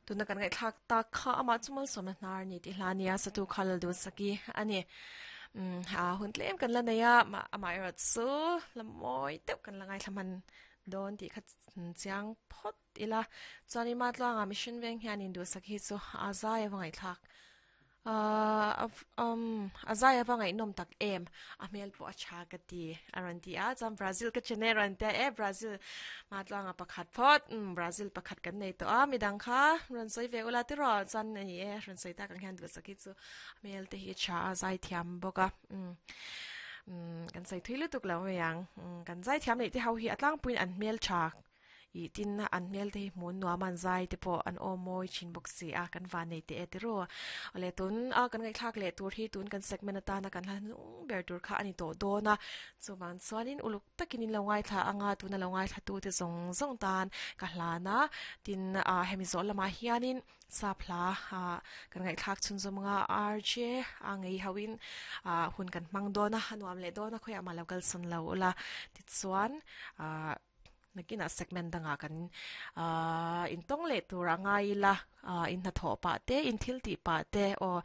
Tuna kan ngaihthlak tak kha amah chu malsawmna hnar ni tih hla nia satu kha Laldunsaki a ni. Umm a hun tlem kan la nei a, amah erawh chu la mawi deuh kan la ngaithla hman dawn tih kha chiang phawt ila. Chuanin Matluanga Mission Veng hianin Duhsaki hi chu a zai a va ngaihthlak. Ahh umm a zai ava ngaihnawm tak em a hmel pawh a tha ka ti a rawn ti a chuan Brazil ka chen e a rawn tia e Brazil hmatluanga pakhat phawt umm Brazil pakhat kan nei tawh a midang kha rawn sawi ve ula tiraw chuan a ni e rawn sawi tak ang hian duhsak hi chu a hmel te hi a tha a zai thiam bawk a umm umm kan sawi thui lutuk lo mai ang umm kan zai thiam neih te ho hi a tlangpuiin an hmel tha Ih tin an hmel te hi hmun nuam an zai te pawh an aw mawi thin bawk si a, kan van nei teh e ti ru. Awle tun a kan ngaihthlak leh tur hi tun kan segment atana kan hla hnung ber tur kha a ni tawh dawn a, chuvang chuanin uluk takin in lo ngaithla anga tuna lo ngaithla tu te zawng zawng tan ka hlan a, tin ah hemi zawh lamah hianin sap hla ah kan ngaihthlak chhunzawm anga RJ a ngei ho in ah hun kan hmang dawn a, a nuam leh dawn a khawiah mah lo kalsawn lo ula tichuan ah. Nakinah segment dangah kan intawng leh tur a ngai ila, in hnathawh pah te, in thil tih pah te aw.